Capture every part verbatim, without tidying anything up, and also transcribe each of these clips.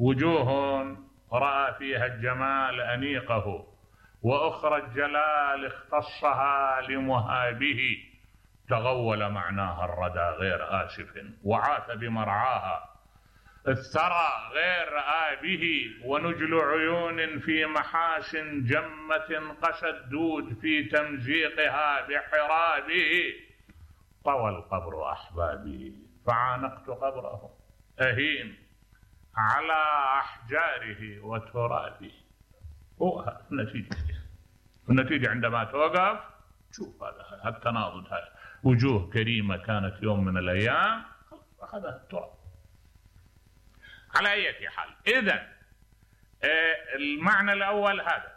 وجوه رأى فيها الجمال أنيقه، وأخرى الجلال اختصها لمهابه، تغول معناها الردى غير آسف، وعاث بمرعاها، الثرى غير رأى به، ونجل عيون في محاسن جمة قسى الدود في تمزيقها بحرابه، طوى القبر أحبابي فعانقت قبره أهين على أحجاره وترابه. هو النتيجة النتيجة عندما توقف شوف هذا التناضج، هذا وجوه كريمة كانت يوم من الأيام أخذها التراب. على أي حال، إذن المعنى الأول هذا.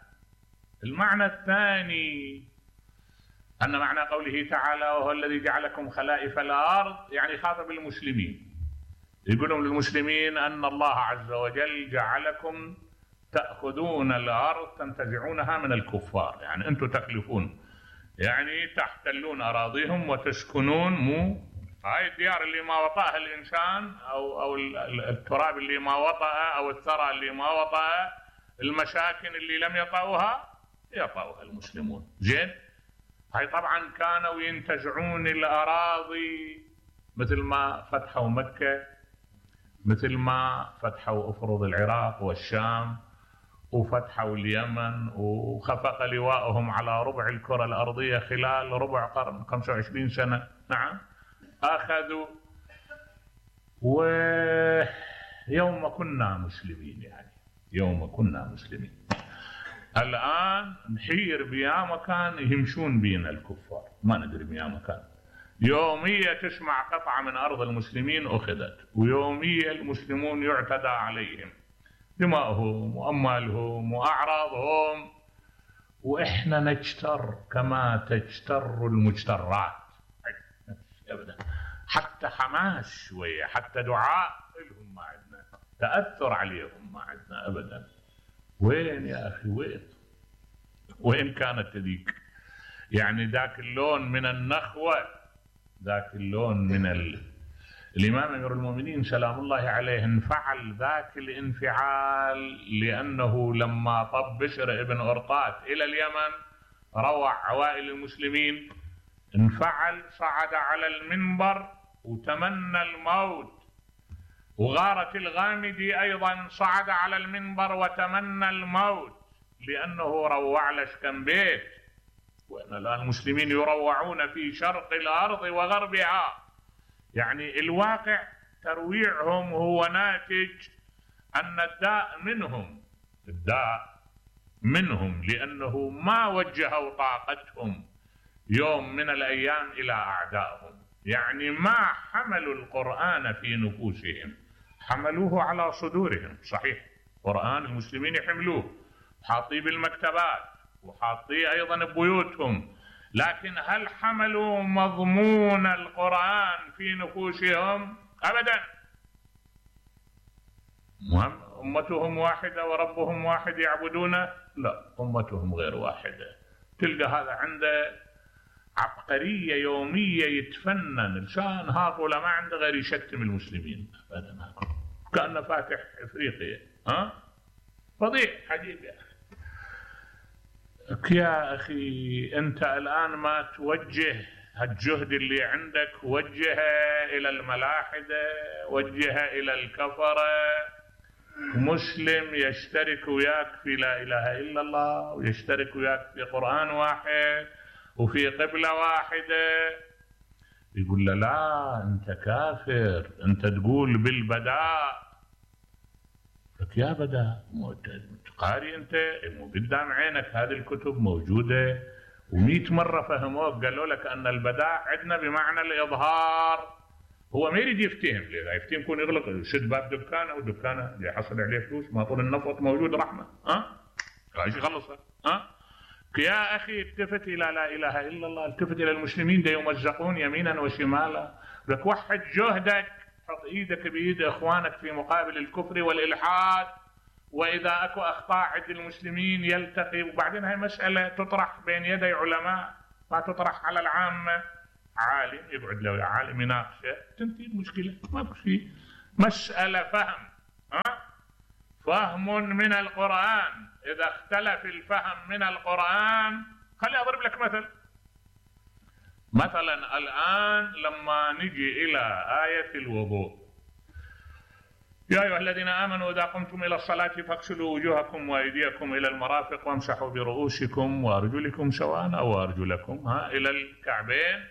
المعنى الثاني أن معنى قوله تعالى وهو الذي جعلكم خلائف الأرض، يعني خاطب المسلمين، يقولون للمسلمين أن الله عز وجل جعلكم تأخذون الأرض تنتزعونها من الكفار، يعني أنتم تخلفون، يعني تحتلون أراضيهم وتسكنون مو هاي الديار اللي ما وطأها الإنسان أو أو التراب اللي ما وطأ أو الثرى اللي ما وطأ، المساكن اللي لم يطأوها يطأوها المسلمون. زين، هاي طبعا كانوا ينتزعون الأراضي مثل ما فتحوا مكة، مثل ما فتحوا أفرض العراق والشام، وفتحوا اليمن، وخفق لواءهم على ربع الكرة الأرضية خلال ربع قرن، خمسة وعشرين سنة. نعم، أخذوا. ويوم كنا مسلمين، يعني يوم كنا مسلمين. الآن نحير بيا مكان يمشون بينا الكفار، ما ندري بيا مكان. يومية تسمع قطعة من أرض المسلمين أخذت، ويومية المسلمون يعتدى عليهم، دماؤهم وأموالهم وأعراضهم، وإحنا نجتر كما تجتر المجترات. أبدا، حتى حماس شوية، حتى دعاء لهم ما عندنا، تأثر عليهم ما عندنا أبدا. وين يا أخي، وين وين كانت ذيك؟ يعني ذاك اللون من النخوة، ذاك اللون من ال... الإمام أمير المؤمنين سلام الله عليه انفعل ذاك الانفعال، لأنه لما طب بشر ابن أرطاة إلى اليمن روع عوائل المسلمين، انفعل، صعد على المنبر وتمنى الموت. وغارة الغامدي أيضا صعد على المنبر وتمنى الموت، لأنه روع لشكن بيت. وأن الآن المسلمين يروعون في شرق الأرض وغربها، يعني الواقع ترويعهم هو ناتج أن الداء منهم، الداء منهم، لأنه ما وجهوا طاقتهم يوم من الأيام إلى أعدائهم، يعني ما حملوا القرآن في نفوسهم، حملوه على صدورهم. صحيح، قرآن المسلمين يحملوه، حاطيه بالمكتبات وحاطيه أيضا ببيوتهم، لكن هل حملوا مضمون القرآن في نفوسهم؟ أبدا. أمتهم واحدة وربهم واحد يعبدونه؟ لا، أمتهم غير واحدة. تلقى هذا عنده عبقرية يومية يتفنن، لسان هاطولة ما عنده غير يشتم المسلمين أبدا، كأنه فاتح إفريقيا. ها فضيح عجيب يا أخي. يا أخي أنت الآن ما توجه الجهد اللي عندك، وجهه إلى الملاحدة، وجهه إلى الكفرة. مسلم يشترك وياك في لا إله إلا الله، ويشترك وياك في قرآن واحد وفي قبلة واحدة، يقول له لا أنت كافر، أنت تقول بالبداء. لك يا بداء، قاري أنت، مو قدام عينك هذه الكتب موجودة، ومئة مرة فهموك قالوا لك أن البداء عندنا بمعنى الإظهار. هو ما يريد يفتهم، لذا يفتهم يكون يغلق، يشد باب دكانه ودكانه اللي يحصل عليه فلوس، ما طول النفط موجود رحمة. ها ايش يخلصها؟ ها يا أخي التفت إلى لا إله إلا الله، التفت إلى المسلمين دا يمزقون يمينا وشمالا. لك وحد جهدك، حط إيدك بإيد إخوانك في مقابل الكفر والإلحاد، وإذا أكو أخطاء عند المسلمين يلتقي. وبعدين هاي مسألة تطرح بين يدي علماء، ما تطرح على العامة. عالم يقعد له عالم يناقشه، تنتهي المشكلة، ما في شيء، مسألة فهم. ها فهم من القرآن. إذا اختلف الفهم من القرآن، خلي أضرب لك مثل. مثلا الآن لما نجي إلى آية الوضوء: يا أيها الذين آمنوا إذا قمتم إلى الصلاة فاغسلوا وجوهكم وأيديكم إلى المرافق وامسحوا برؤوسكم وأرجلكم سواء أو أرجلكم ها إلى الكعبين.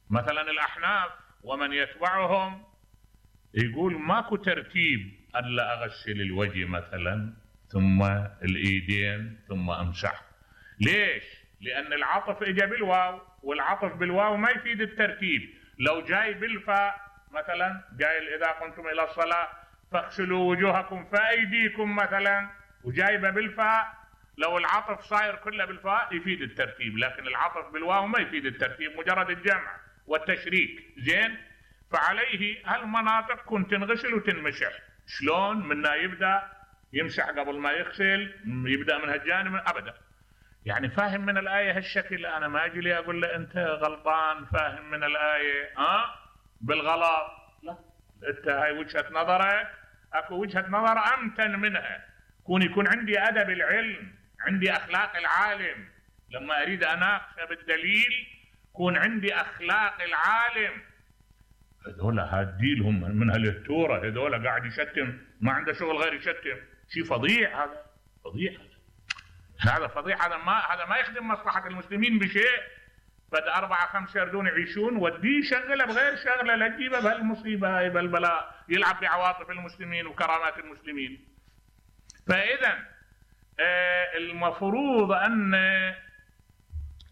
مثلا الأحناف ومن يتبعهم يقول ماكو ترتيب، ألا أغسل الوجه مثلا ثم الإيدين ثم أمسح. ليش؟ لأن العطف إجا بالواو، والعطف بالواو ما يفيد الترتيب. لو جاي بالفاء مثلا، جاي إذا قمتم إلى الصلاة فاغسلوا وجوهكم فأيديكم مثلا، وجايبه بالفاء، لو العطف صاير كله بالفاء يفيد الترتيب، لكن العطف بالواو ما يفيد الترتيب، مجرد الجمع والتشريك. زين؟ فعليه هالمناطق كنت تنغسل وتنمسح. شلون؟ منا يبدأ يمسح قبل ما يغسل، يبدأ من هالجانب أبدا. يعني فاهم من الآية هالشكل. أنا ما أجي لي أقول له أنت غلطان، فاهم من الآية ها أه؟ بالغلط. لا، أنت هاي وجهة نظرك، أكو وجهة نظر أمتن منها. كون يكون عندي أدب العلم، عندي أخلاق العالم، لما أريد أناقش بالدليل كون عندي أخلاق العالم. هذول هاديلهم من هالتورة، هذول قاعد يشتم، ما عنده شغل غير يشتم. شيء فظيع هذا، فظيع هذا، هذا فظيع. هذا ما هذا ما يخدم مصلحة المسلمين بشيء. بدأ أربعة خمسة يردون يعيشون، وديه شغله بغير شغله، لا تجيبه بهالمصيبة هاي بالبلاء، يلعب بعواطف المسلمين وكرامات المسلمين. فإذا آه المفروض أن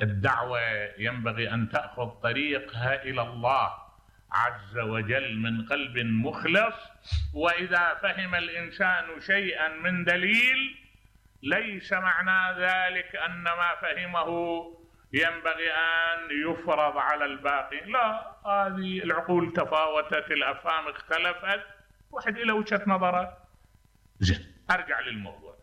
الدعوة ينبغي أن تأخذ طريقها إلى الله عز وجل من قلب مخلص. وإذا فهم الإنسان شيئا من دليل ليس معنى ذلك أن ما فهمه ينبغي أن يفرض على الباقي. لا، هذه العقول تفاوتت، الأفهام اختلفت، واحد إلى وجهة نظره. زين، أرجع للموضوع.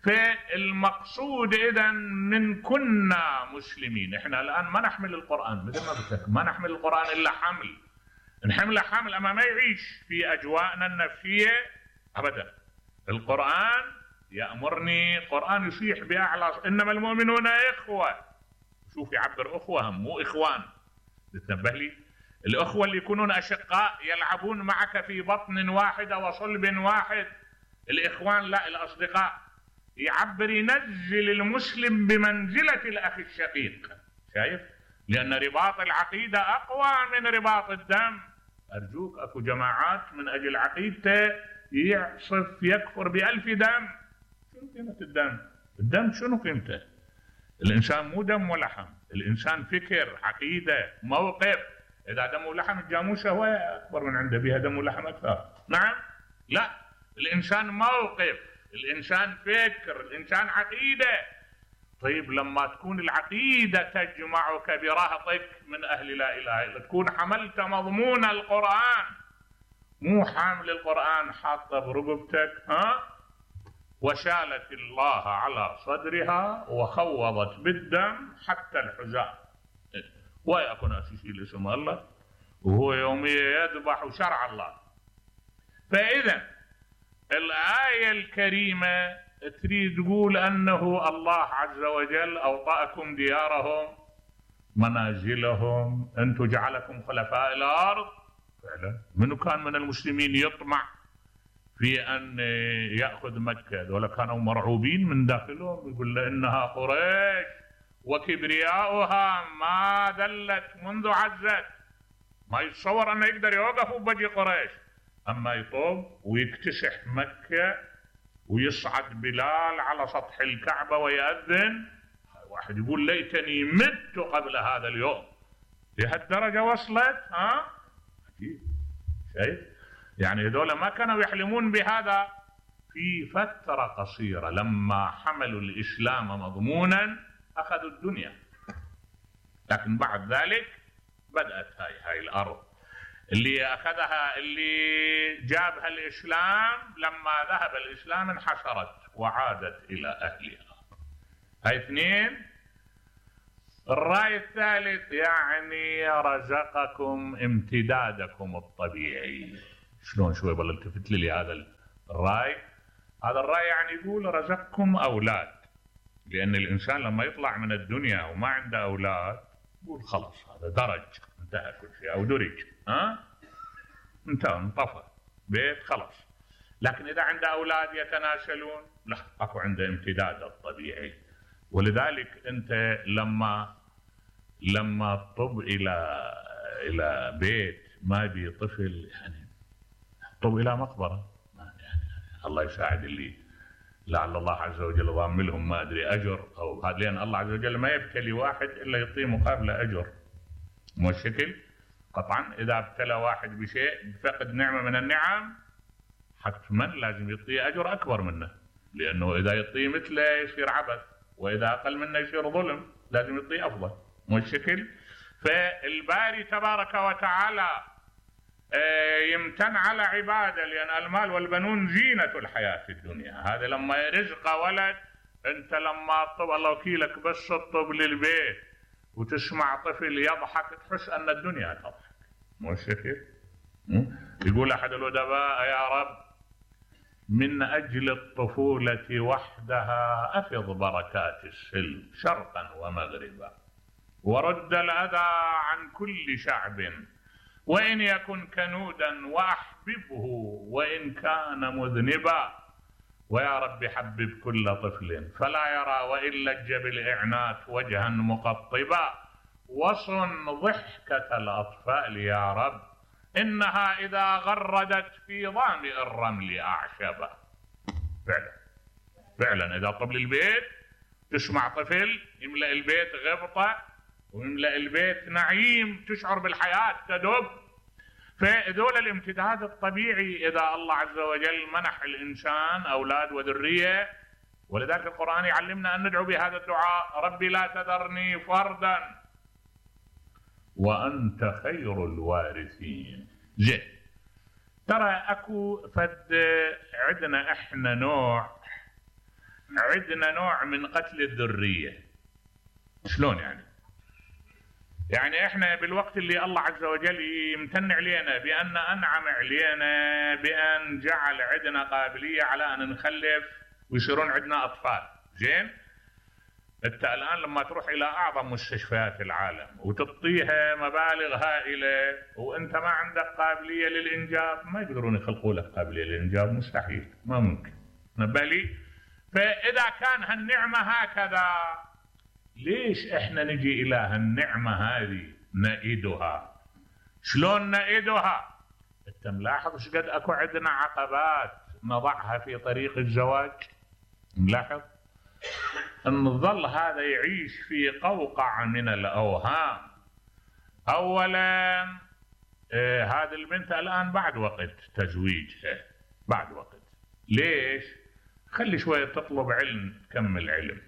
فالمقصود إذن من كنا مسلمين. إحنا الآن ما نحمل القرآن مثل ما قلت لك، ما نحمل القرآن إلا حمل. نحمله حمل أما ما يعيش في أجواءنا النفسية أبدا. القرآن يأمرني، القرآن يصيح بأعلى: إنما المؤمنون إخوة. شوف يعبر أخوة، مو إخوان. تتنبه لي؟ الأخوة اللي يكونون أشقاء يلعبون معك في بطن واحدة وصلب واحد. الإخوان لا، الأصدقاء. يعبر ينزل المسلم بمنزلة الأخ الشقيق. شايف؟ لأن رباط العقيدة أقوى من رباط الدم. أرجوك، أكو جماعات من أجل عقيدته يعصف يكفر بألف دم. شنو قيمة الدم؟ الدم شنو قيمته؟ الإنسان مو دم ولحم، الإنسان فكر، عقيدة، موقف. إذا دم ولحم الجاموسة هو أكبر من عنده، بها دم ولحم أكثر. نعم؟ لا، الإنسان موقف، الإنسان فكر، الإنسان عقيدة. طيب لما تكون العقيدة تجمعك برهطك من أهل لا إله إلا، تكون حملت مضمون القرآن، مو حامل القرآن حاطه برقبتك ها، وشالت الله على صدرها وخوضت بالدم حتى الحذاء. ويكون أسيسي اسم الله، وهو يوميا يذبح شرع الله. فإذا الآية الكريمة تريد تقول أنه الله عز وجل أوطأكم ديارهم منازلهم، أنتم جعلكم خلفاء الأرض. فعلا منو كان من المسلمين يطمع في أن يأخذ مكة؟ ولا كانوا مرعوبين من داخلهم، يقول إنها قريش وكبرياؤها ما ذلت منذ عزت. ما يتصور أنه يقدر يوقف بوجه قريش. أما يطوب ويكتسح مكة ويصعد بلال على سطح الكعبة ويأذن، واحد يقول ليتني مت قبل هذا اليوم. لهالدرجة وصلت ها؟ أكيد. شايف؟ يعني هذول ما كانوا يحلمون بهذا. في فترة قصيرة لما حملوا الإسلام مضمونا أخذوا الدنيا، لكن بعد ذلك بدأت هاي هاي الأرض اللي أخذها، اللي جابها الإسلام. لما ذهب الإسلام انحسرت وعادت إلى أهلها. هاي اثنين. الرأي الثالث يعني رزقكم امتدادكم الطبيعي. شلون؟ شوي بالله التفت لي هذا الرأي. هذا الرأي يعني يقول رزقكم أولاد، لأن الإنسان لما يطلع من الدنيا وما عنده أولاد يقول خلاص هذا درج انتهى كل شيء، أو درج ها انتهى انطفى بيت خلاص. لكن إذا عنده أولاد يتناسلون لا، أكو عنده امتداد الطبيعي. ولذلك أنت لما لما تطب إلى إلى بيت ما بي طفل يعني طب إلى مقبرة، يعني الله يساعد اللي لعل الله عز وجل ضام لهم ما أدري أجر أو هذا، لأن الله عز وجل ما يبتلي واحد إلا يعطيه مقابله أجر. مو الشكل؟ قطعا إذا ابتلى واحد بشيء فقد نعمة من النعم حتما لازم يعطيه أجر أكبر منه، لأنه إذا يعطيه مثله يصير عبث، وإذا أقل منه يصير ظلم، لازم يعطيه أفضل. مو الشكل؟ فالباري تبارك وتعالى يمتن على عباده، لأن المال والبنون زينة الحياة الدنيا. هذا لما رزق ولد، أنت لما طب الله وكيلك بس تطب للبيت وتسمع طفل يضحك تحس أن الدنيا تضحك. مو الشكل؟ يقول أحد الأدباء يا رب من أجل الطفولة وحدها أفض بركات السلم شرقا ومغربا، ورد الأذى عن كل شعب، وإن يكن كنودا وأحببه وإن كان مذنبا، ويا رب حبب كل طفل فلا يرى وإن لج بالإعنات وجها مقطبا، وصن ضحكة الأطفال يا رب إنها إذا غردت في ظامئ الرمل أعشبا. فعلا فعلا إذا طب للبيت تسمع طفل يملأ البيت غبطة ويملأ البيت نعيم، تشعر بالحياة تدب. فذول الامتداد الطبيعي إذا الله عز وجل منح الإنسان أولاد وذرية. ولذلك القرآن يعلمنا أن ندعو بهذا الدعاء ربي لا تذرني فردا وأنت خير الوارثين. زين، ترى أكو فد عندنا إحنا نوع عندنا نوع من قتل الذرية. شلون يعني؟ يعني احنا بالوقت اللي الله عز وجل يمتن علينا بأن أنعم علينا بأن جعل عندنا قابلية على أن نخلف ويصيرون عندنا أطفال. زين، انت الآن لما تروح إلى أعظم مستشفيات العالم وتعطيها مبالغ هائلة وأنت ما عندك قابلية للإنجاب، ما يقدرون يخلقوا لك قابلية للإنجاب، مستحيل، ما ممكن. نبالي. فإذا كان هالنعمة هكذا ليش احنا نجي الى هالنعمة هذه نئدها؟ شلون نئدها؟ انت ملاحظ ايش قد اكو عندنا عقبات نضعها في طريق الزواج؟ ملاحظ؟ نظل هذا يعيش في قوقعة من الاوهام. اولا آه هذه البنت الان بعد وقت تزويجها، بعد وقت. ليش؟ خلي شوية تطلب علم، تكمل علم.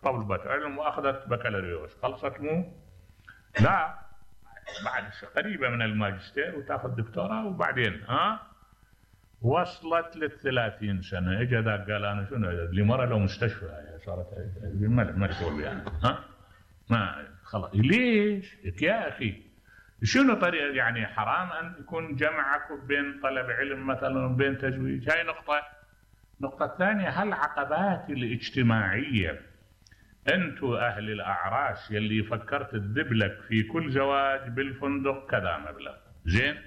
طلبت علم واخذت بكالوريوس، خلصت مو؟ لا، بعد قريبه من الماجستير وتاخذ دكتوراه، وبعدين ها وصلت للثلاثين سنه اجى ذاك قال انا شنو لي مره لو مستشفى صارت ما تقول يعني ها ما خلاص. ليش يا اخي؟ شنو طريقه؟ يعني حرام ان يكون جمعك بين طلب علم مثلا وبين تزويج. هاي نقطه. النقطه الثانيه هالعقبات الاجتماعيه. انتو اهل الاعراس يلي فكرت تذب لك في كل زواج بالفندق كذا مبلغ، زين؟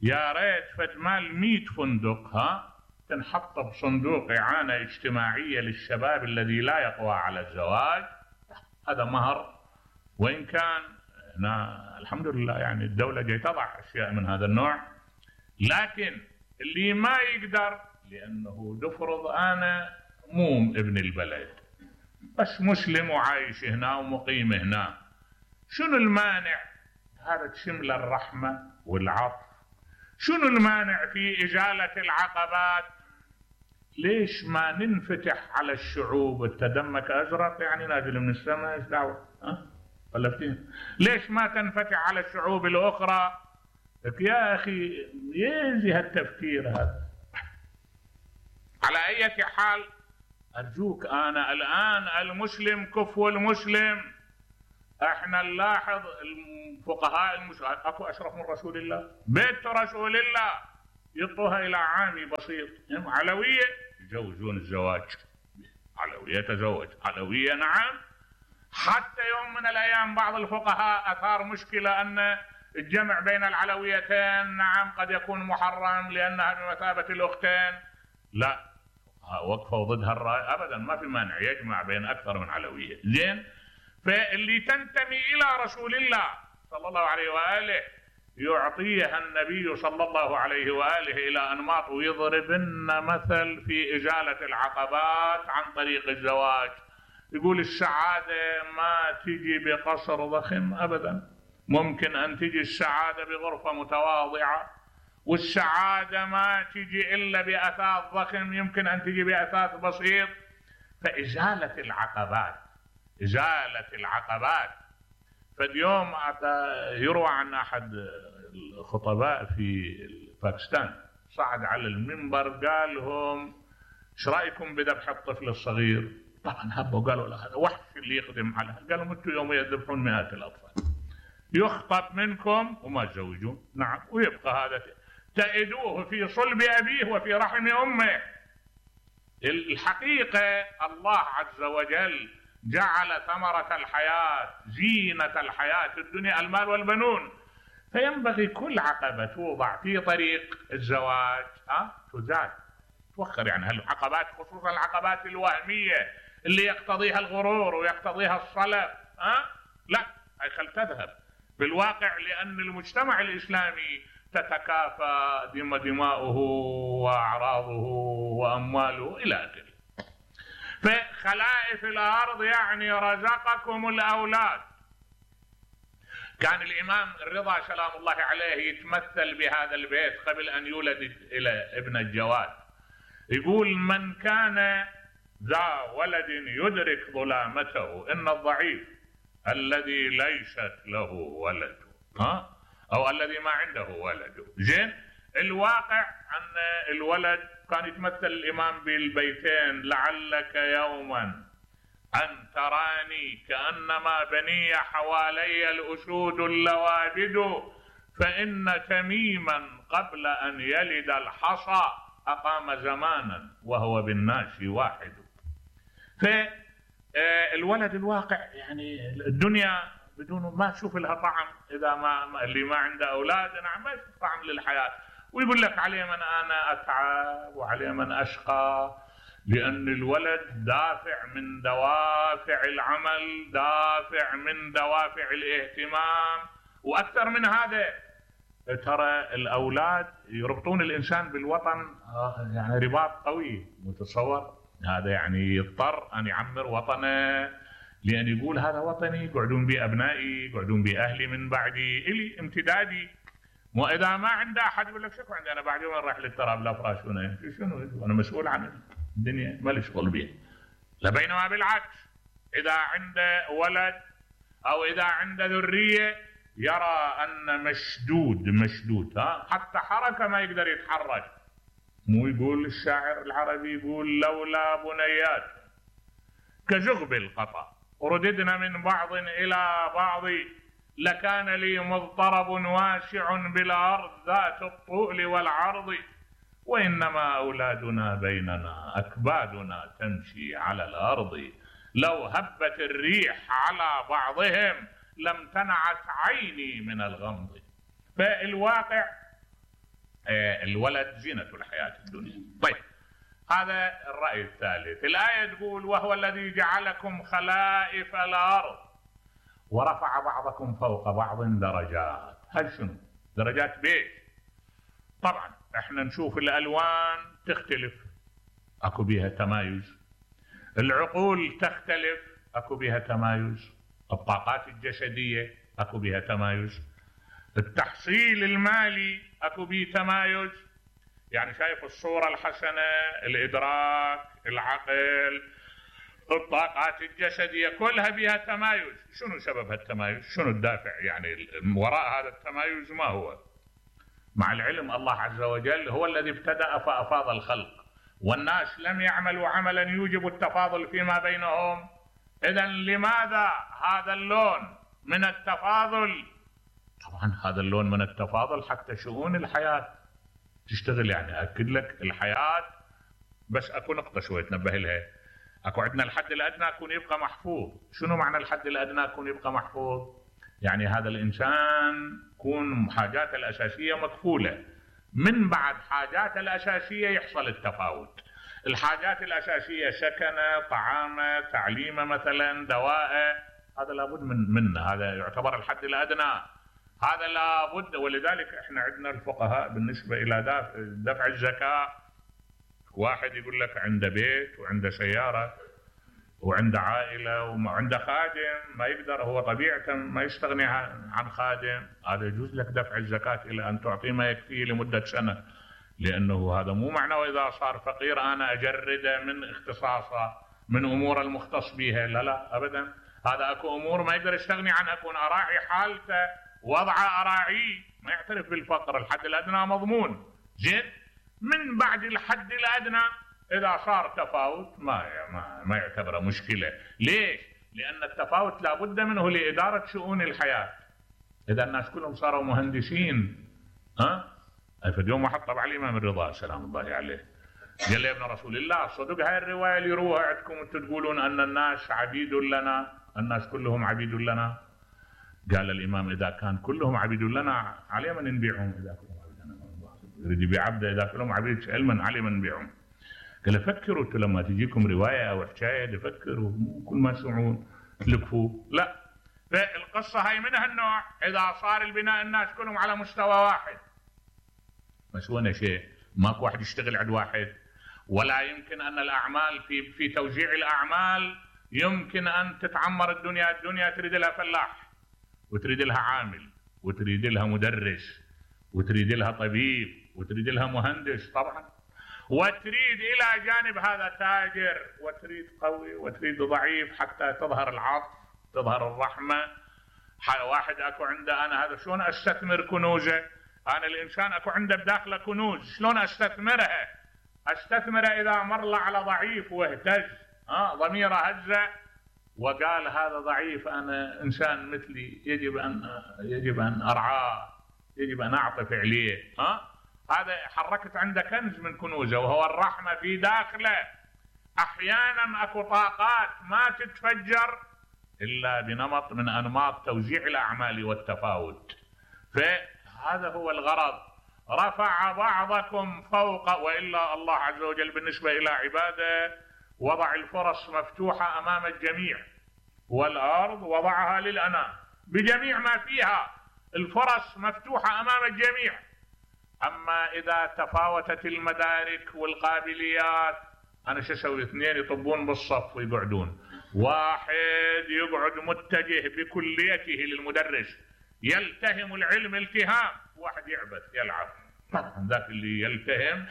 يا ريت فجمال مئة فندق ها تنحط بصندوق اعانه اجتماعيه للشباب الذي لا يقوى على الزواج. هذا مهر، وان كان هنا الحمد لله يعني الدوله جاي تضع اشياء من هذا النوع، لكن اللي ما يقدر لانه نفرض انا مو ابن البلد بس مسلم وعايش هنا ومقيم هنا، شنو المانع؟ هذا تشمل الرحمة والعطف. شنو المانع في إزالة العقبات؟ ليش ما ننفتح على الشعوب؟ التدمك أزرق يعني نازل من السماء، ايش دعوة؟ ها؟ فلسطين. ليش ما تنفتح على الشعوب الأخرى؟ يا أخي يزي هالتفكير هذا. على أي حال أرجوك، أنا الآن المسلم كفو المسلم. احنا نلاحظ الفقهاء المسلمين، اكو أشرف من رسول الله؟ بيت رسول الله يعطوها إلى عامي بسيط. علوية يجوزون الزواج، علوية تزوج، علوية نعم. حتى يوم من الأيام بعض الفقهاء أثار مشكلة أن الجمع بين العلويتين نعم قد يكون محرم لأنها بمثابة الأختين. لا، وقفوا ضدها الرأي أبدا، ما في مانع يجمع بين أكثر من علوية. زين، فاللي تنتمي إلى رسول الله صلى الله عليه وآله يعطيها النبي صلى الله عليه وآله إلى أنماط، ويضربن مثل في إزالة العقبات عن طريق الزواج. يقول السعادة ما تجي بقصر ضخم أبدا، ممكن أن تجي السعادة بغرفة متواضعة، والسعادة ما تجي إلا بأثاث ضخم، يمكن أن تجي بأثاث بسيط. فإزالة العقبات، إزالة العقبات. فاليوم يروى عن أحد الخطباء في باكستان صعد على المنبر قال لهم ايش رايكم بذبح الطفل الصغير؟ طبعا هبوا قالوا لا هذا وحش اللي يخدم على، قالوا انتم يوم يذبحون مئات الاطفال يخطب منكم وما تزوجون. نعم، ويبقى هذا تأدوه في صلب ابيه وفي رحم امه. الحقيقه الله عز وجل جعل ثمرة الحياة زينة الحياة الدنيا المال والبنون، فينبغي كل عقبة توضع في طريق الزواج ها تزال توخر. يعني هالعقبات خصوصا العقبات الوهمية اللي يقتضيها الغرور ويقتضيها الصلب ها لا، هي خل تذهب بالواقع، لأن المجتمع الإسلامي تتكافى دم دماؤه وأعراضه وأمواله إلى آخره. فخلائف الأرض يعني رزقكم الأولاد. كان الإمام الرضا سلام الله عليه يتمثل بهذا البيت قبل أن يولد إلى ابن الجواد، يقول من كان ذا ولد يدرك ظلامته إن الضعيف الذي ليست له ولد ها أو الذي ما عنده ولد. زين، الواقع أن الولد كان يتمثل الإمام بالبيتين لعلك يوما أن تراني كأنما بني حوالي الأسود اللوابد فإن تميما قبل أن يلد الحصى أقام زمانا وهو بالناس واحد. فالولد الواقع يعني الدنيا بدون ما تشوف لها طعم، إذا ما اللي ما عنده أولاد نعم ما يشوف طعم للحياة، ويقول لك عليه من أنا أتعب وعليه من أشقى، لأن الولد دافع من دوافع العمل، دافع من دوافع الاهتمام. وأكثر من هذا ترى الأولاد يربطون الإنسان بالوطن يعني رباط قوي متصور، هذا يعني يضطر أن يعمر وطنه لأن يقول هذا وطني، يقعدون بي أبنائي، يقعدون بي أهلي من بعدي، إلي امتدادي. وإذا ما عنده أحد يقول لك شكو عندي أنا بعد يوم راح للتراب لا فراشونه، شنو أنا مسؤول عن الدنيا ما لي شغل بيها. لبينما بالعكس إذا عنده ولد أو إذا عنده ذرية يرى أن مشدود مشدود ها حتى حركة ما يقدر يتحرك. مو يقول الشاعر العربي يقول لولا بنيات كزغب القطا رددنا من بعض إلى بعض لكان لي مضطرب واسع بالأرض ذات الطول والعرض وإنما أولادنا بيننا أكبادنا تمشي على الأرض لو هبت الريح على بعضهم لم تنعت عيني من الغمض. فالواقع الولد زينة الحياة الدنيا. طيب هذا الرأي الثالث. الآية تقول وهو الذي جعلكم خلائف الأرض ورفع بعضكم فوق بعض درجات. هل شنو درجات بيت؟ طبعا احنا نشوف الألوان تختلف اكو بيها تمايز، العقول تختلف اكو بيها تمايز، الطاقات الجسدية اكو بيها تمايز، التحصيل المالي اكو بيه تمايز. يعني شايف الصورة الحسنة، الإدراك، العقل، الطاقات الجسدية كلها بها تمايز. شنو سبب هالتمايز؟ شنو الدافع يعني وراء هذا التمايز؟ ما هو؟ مع العلم الله عز وجل هو الذي ابتدأ فأفاض الخلق، والناس لم يعملوا عملا يوجب التفاضل فيما بينهم. إذن لماذا هذا اللون من التفاضل؟ طبعا هذا اللون من التفاضل حتى شؤون الحياة تشتغل يعني أكد لك الحياة. بس أكو نقطة شوي تنبه لها، أكو عندنا الحد الأدنى يكون يبقى محفوظ. شنو معنى الحد الأدنى يكون يبقى محفوظ؟ يعني هذا الإنسان يكون حاجاته الأساسية مكفولة، من بعد حاجاته الأساسية يحصل التفاوت. الحاجات الأساسية سكنه، طعامه، تعليمه مثلا، دواءه، هذا لابد من منه، هذا يعتبر الحد الأدنى، هذا لابد. ولذلك احنا عندنا الفقهاء بالنسبة إلى دفع, دفع الزكاة، واحد يقول لك عنده بيت وعنده سيارة وعنده عائلة وعنده خادم، ما يقدر هو طبيعة ما يستغني عن خادم، هذا يجوز لك دفع الزكاة إلى أن تعطيه ما يكفيه لمدة سنة، لأنه هذا مو معناه إذا صار فقير أنا أجرده من اختصاصه من أمور المختص بها، لا لا أبدا. هذا أكو أمور ما يقدر يستغني عنها، أكون أراعي حالته وضعه أراعيه، ما يعترف بالفقر، الحد الأدنى مضمون. زين، من بعد الحد الأدنى إذا صار تفاوت ما ما, ما يعتبره مشكلة. ليش؟ لأن التفاوت لابد منه لإدارة شؤون الحياة. إذا الناس كلهم صاروا مهندسين، ها؟ فاليوم واحد طبع الإمام الرضا سلام الله عليه قال لي يا ابن رسول الله صدق هاي الرواية اللي يروها عندكم انتم تقولون أن الناس عبيد لنا، الناس كلهم عبيد لنا؟ قال الإمام إذا كان كلهم عبيد لنا علي من نبيعهم؟ إذا كلهم عبيد لنا يريد يبيع عبده، إذا كلهم عبيد علما علي من نبيعهم؟ قال فكروا انتم لما تجيكم رواية أو حكاية فكروا، كل ما تسمعون تلقفوا، لا. فالقصة هاي من هالنوع، إذا صار البناء الناس كلهم على مستوى واحد مسوينا شيء، ماكو واحد يشتغل عند واحد، ولا يمكن أن الأعمال في في توزيع الأعمال يمكن أن تتعمر الدنيا. الدنيا تريد لها فلاح، وتريد لها عامل، وتريد لها مدرس، وتريد لها طبيب، وتريد لها مهندس طبعا، وتريد إلى جانب هذا تاجر، وتريد قوي وتريد ضعيف، حتى تظهر العطف تظهر الرحمة. واحد أكو عنده أنا هذا شلون أستثمر كنوزه؟ أنا الإنسان أكو عنده بداخله كنوز، شلون أستثمرها؟ أستثمرها إذا مر على ضعيف واهتز، ها ضميره هزه وقال هذا ضعيف، أنا إنسان مثلي يجب أن يجب أن أرعاه، يجب أن أعطف عليه، ها هذا حركت عنده كنز من كنوزه وهو الرحمة في داخله. أحيانا أكو طاقات ما تتفجر إلا بنمط من أنماط توزيع الأعمال والتفاوت. فهذا هو الغرض. رفع بعضكم فوق، وإلا الله عز وجل بالنسبة إلى عباده وضع الفرص مفتوحة أمام الجميع، والأرض وضعها للأنام بجميع ما فيها، الفرص مفتوحة أمام الجميع. أما إذا تفاوتت المدارك والقابليات، أنا شو أسوي؟ اثنين يطبون بالصف ويقعدون، واحد يقعد متجه بكليته للمدرس يلتهم العلم التهام، واحد يعبث يلعب. طبعا ذاك اللي يلتهم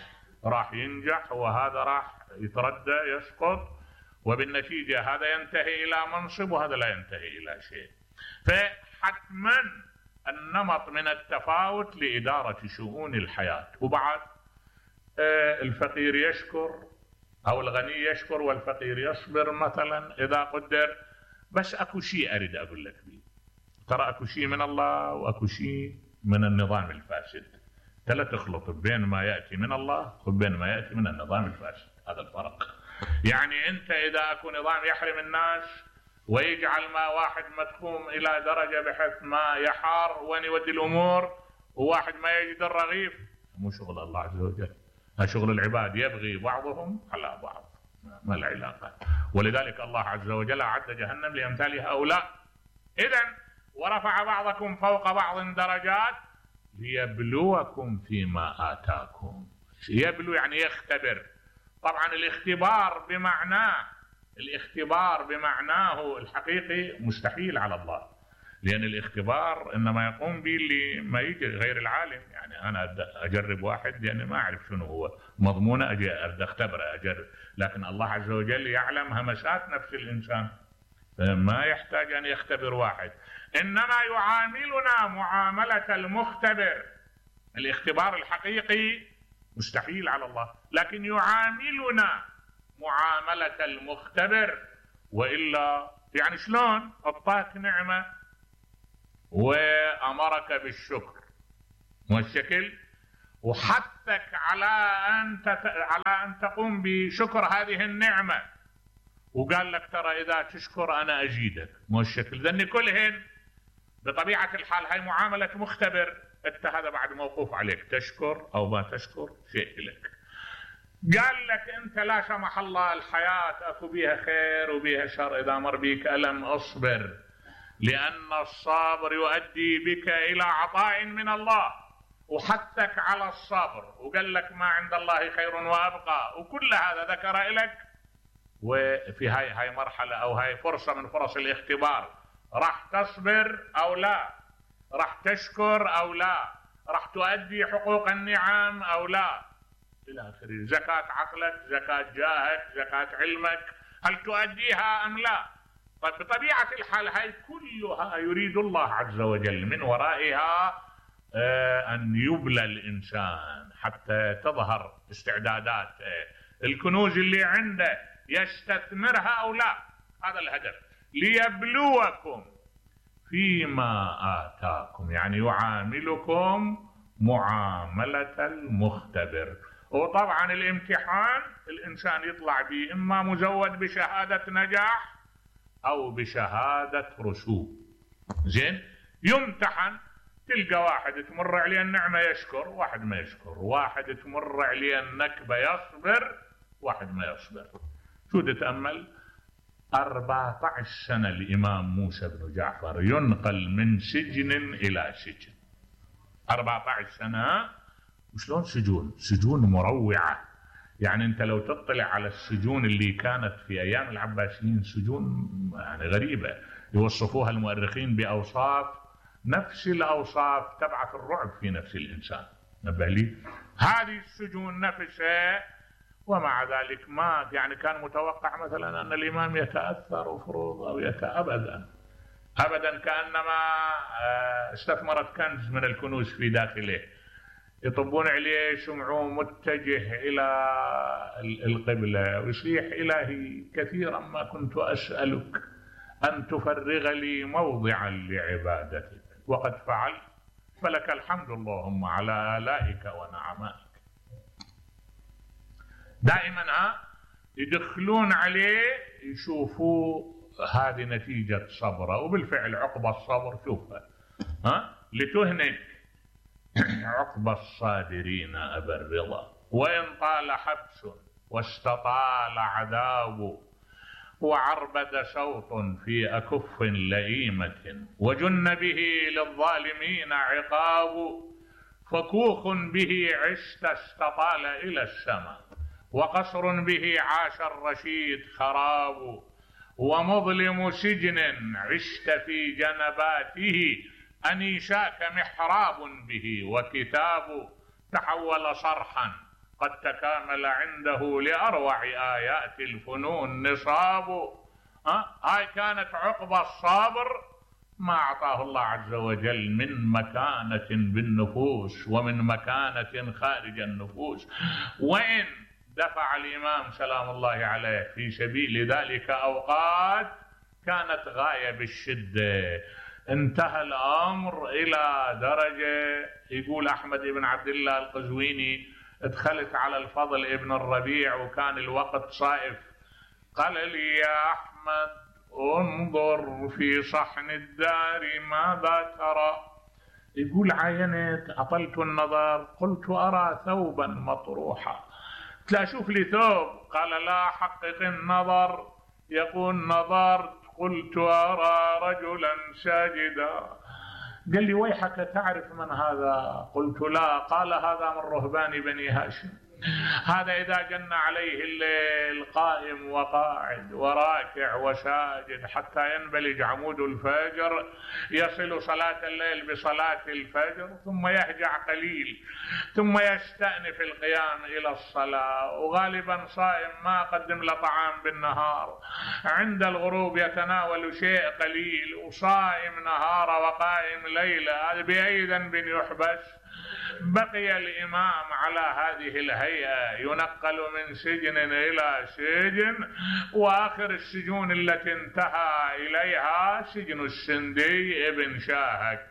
راح ينجح وهذا راح يتردى يسقط، وبالنتيجة هذا ينتهي إلى منصب وهذا لا ينتهي إلى شيء. فحتما النمط من التفاوت لإدارة شؤون الحياة. وبعد الفقير يشكر أو الغني يشكر والفقير يصبر مثلا إذا قدر. بس أكو شيء أريد أقول لك بيه، ترى أكو شيء من الله وأكو شيء من النظام الفاسد، لا تخلط بين ما يأتي من الله وبين ما يأتي من النظام الفاسد، هذا الفرق. يعني أنت إذا أكو نظام يحرم الناس ويجعل ما واحد مدخوم إلى درجة بحيث ما يحار وين يودي الأمور، وواحد ما يجد الرغيف، مو شغل الله عز وجل، هذا شغل العباد، يبغي بعضهم على بعض، ما له علاقة. ولذلك الله عز وجل أعد جهنم لأمثال هؤلاء. إذن ورفع بعضكم فوق بعض درجات ليبلوكم فيما آتاكم. يبلو يعني يختبر. طبعا الاختبار بمعناه الاختبار بمعناه الحقيقي مستحيل على الله، لأن الاختبار إنما يقوم به اللي ما يجي غير العالم. يعني أنا أجرب واحد يعني ما أعرف شنو هو مضمونه، أجي أختبره أجرب، لكن الله عز وجل يعلم همسات نفس الإنسان، ما يحتاج أن يختبر واحد، إنما يعاملنا معاملة المختبر. الاختبار الحقيقي مستحيل على الله، لكن يعاملنا معاملة المختبر. وإلا يعني شلون أعطاك نعمة وأمرك بالشكر والشكل، وحثك على أن تت... على أن تقوم بشكر هذه النعمة، وقال لك ترى إذا تشكر أنا أزيدك. مو الشكل ذني كلهن بطبيعة الحال هاي معاملة مختبر، أنت هذا بعد موقوف عليك، تشكر أو ما تشكر شيء لك. قال لك أنت لا سمح الله الحياة أكو بيها خير وبيها شر، إذا مر بيك ألم أصبر، لأن الصابر يؤدي بك إلى عطاء من الله، وحثك على الصبر، وقال لك ما عند الله خير وأبقى، وكل هذا ذكر لك. وفي هاي هاي مرحلة أو هاي فرصة من فرص الاختبار، راح تصبر أو لا، راح تشكر أو لا، راح تؤدي حقوق النعم أو لا إلى آخره. زكاة عقلك، زكاة جاهك، زكاة علمك، هل تؤديها أم لا؟ طيب بطبيعة الحال هاي كلها يريد الله عز وجل من ورائها أن يبلى الإنسان حتى تظهر استعدادات الكنوز اللي عنده، يستثمرها أو لا. هذا الهدف، ليبلوكم فيما آتاكم، يعني يعاملكم معاملة المختبر. وطبعا الامتحان الإنسان يطلع به إما مزود بشهادة نجاح أو بشهادة رسوب. زين، يمتحن، تلقى واحد تمر عليه النعمة يشكر، واحد ما يشكر، واحد تمر عليه النكبة يصبر، واحد ما يصبر. شو تتأمل؟ أربعة عشر سنة الإمام موسى بن جعفر ينقل من سجن إلى سجن. أربعة عشر سنة، وشلون سجون؟ سجون مروعة. يعني أنت لو تطلع على السجون اللي كانت في أيام العباسيين، سجون يعني غريبة، يوصفوها المؤرخين بأوصاف نفس الأوصاف تبعث الرعب في نفس الإنسان. نبه لي هذه السجون نفسها، ومع ذلك ما يعني كان متوقع مثلا أن الإمام يتأثر فروض أو يتأ أبدا أبدا، كأنما استثمرت كنز من الكنوز في داخله. يطبون عليه، يسمعوه متجه إلى القبلة ويصيح إلهي كثيرا ما كنت أسألك أن تفرغ لي موضعا لعبادتك، وقد فعلت، فلك الحمد اللهم على آلائك ونعمائك. دائما ها يدخلون عليه يشوفوا هذه نتيجة صبره، وبالفعل عقب الصبر شوفها ها لتهنك عقب الصابرين أبا الرضا، وإن طال حبس واستطال عذاب، وعربد صوت في أكف لئيمة، وجن به للظالمين عقاب، فكوخ به عشت استطال إلى السماء، وقصر به عاش الرشيد خراب، ومظلم سجن عشت في جنباته، أنيشاك محراب به وكتاب، تحول صرحا قد تكامل عنده لأروع آيات الفنون نصاب. أه؟ هاي كانت عقبى الصابر ما أعطاه الله عز وجل من مكانة بالنفوس ومن مكانة خارج النفوس. وإن دفع الإمام سلام الله عليه في سبيل ذلك أوقات كانت غاية بالشدة، انتهى الأمر إلى درجة يقول أحمد بن عبد الله القزويني ادخلت على الفضل ابن الربيع وكان الوقت صائف، قال لي يا أحمد انظر في صحن الدار ماذا ترى؟ يقول عاينت أطلت النظر قلت أرى ثوبا مطروحا، لا شوف لي ثوب، قال لا حقق النظر، يقول نظرت قلت أرى رجلا ساجدا. قال لي ويحك تعرف من هذا؟ قلت لا. قال هذا من رهبان بني هاشم، هذا إذا جن عليه الليل قائم وقاعد وراكع وساجد حتى ينبلج عمود الفجر، يصل صلاة الليل بصلاة الفجر، ثم يهجع قليل، ثم يستأنف القيام إلى الصلاة، وغالبا صائم ما قدم له طعام بالنهار، عند الغروب يتناول شيء قليل، وصائم نهار وقائم ليلة، هذا بأي ذنب يحبس؟ بقي الإمام على هذه الهيئة ينقل من سجن إلى سجن، وآخر السجون التي انتهى إليها سجن السندي ابن شاهك.